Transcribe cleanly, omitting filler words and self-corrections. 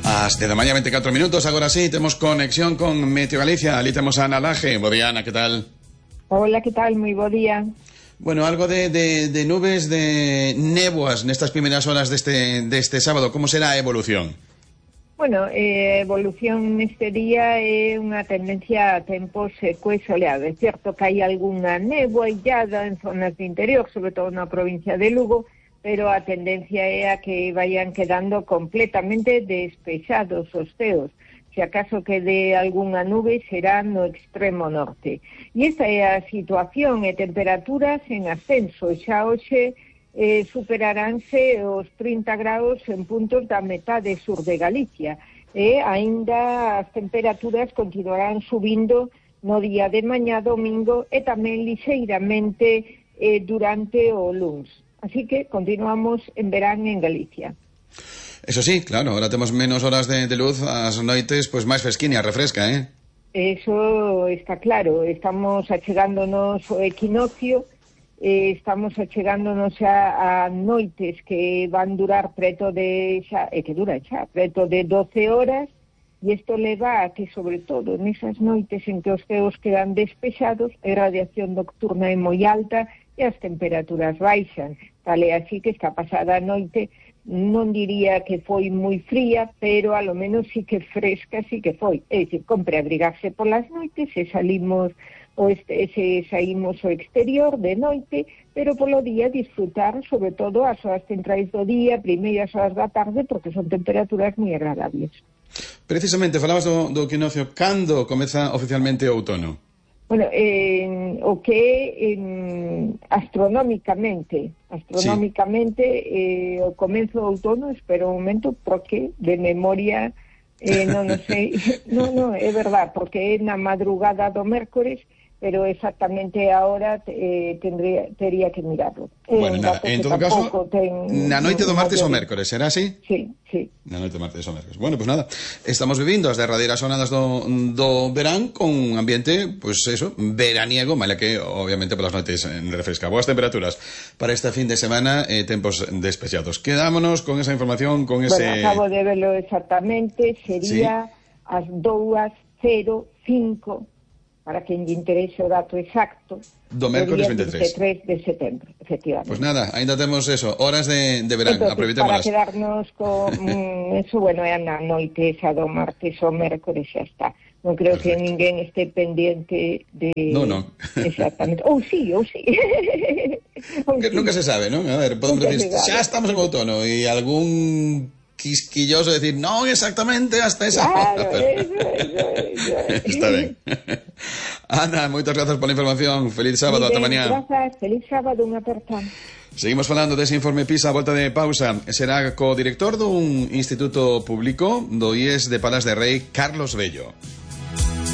As 10:24, agora sí, temos conexión con Meteo Galicia. Ali temos a Ana Laje. Bo día, Ana, que tal? Hola, que tal? Moi bo día. Bueno, algo de nubes, de néboas nestas primeiras horas deste sábado. Como será a evolución? Bueno, evolución neste día é unha tendencia a tempos seco e soleado. É certo que hai algunha néboa illada en zonas de interior, sobre todo na provincia de Lugo, pero a tendencia é a que vayan quedando completamente despexados os ceos. Se acaso quede algunha nube será no extremo norte. E esta é a situación e temperaturas en ascenso. Xa hoxe superaránse os 30 graus en puntos da metade sur de Galicia. E aínda as temperaturas continuarán subindo no día de mañá domingo e tamén lixeiramente durante o luns. Así que continuamos en verán en Galicia. Eso sí, claro, ahora temos menos horas de luz, as noites pois máis fresquiña, refresca, Eso está claro, estamos achegándonos o equinoccio, estamos achegándonos a noites que van durar preto de preto de 12 horas, e isto leva a que, sobre todo, nesas noites en que os ceos quedan despexados, a radiación nocturna é moi alta e as temperaturas baixan. Tal é así que esta pasada noite non diría que foi moi fría, pero a lo menos sí que fresca, sí que foi. É dicir, compre abrigarse polas noites se saímos ao exterior de noite, pero polo día disfrutar, sobre todo, as horas centrais do día, primeiras horas da tarde, porque son temperaturas moi agradables. Precisamente, falabas do equinoccio. Cando comeza oficialmente o outono? Bueno, o que astronómicamente, o comezo do outono, espero un momento, porque de memoria non sei, non, é verdad, porque é na madrugada do mércores, pero exactamente ahora tería que mirarlo. Bueno, nada, en todo caso, na noite do martes ou mércores, será así? Sí. Na noite do martes ou mércores. Bueno, pues nada, estamos vivindo as derradeiras jornadas do verán con un ambiente, pues eso, veraniego, mala que, obviamente, polas noites refresca. Boas temperaturas para este fin de semana, tempos despexados. Quedámonos con esa información, con ese... Bueno, acabo de verlo exactamente, sería as 2:05, para quen lle interese o dato exacto, do mércores 23 de setembro, efectivamente. Pues nada, ainda temos eso, horas de verán, aproveitémolas. Para quedarnos con eso, bueno, é na noite esa do martes ou mércores, xa está. Non creo que ninguén este pendiente de... Non. Exactamente. Ou sí. Nunca se sabe, non? A ver, podemos decir, xa estamos en outono, e algún quisquilloso decir, non exactamente hasta esa hora. Eso. Está ben. Ana, moitas grazas pola información. Feliz sábado, ata mañá. Grazas, feliz sábado, unha aperta. Seguimos falando dese informe PISA a volta de pausa. Será co director dun instituto público do IES de Palas de Rei, Carlos Bello.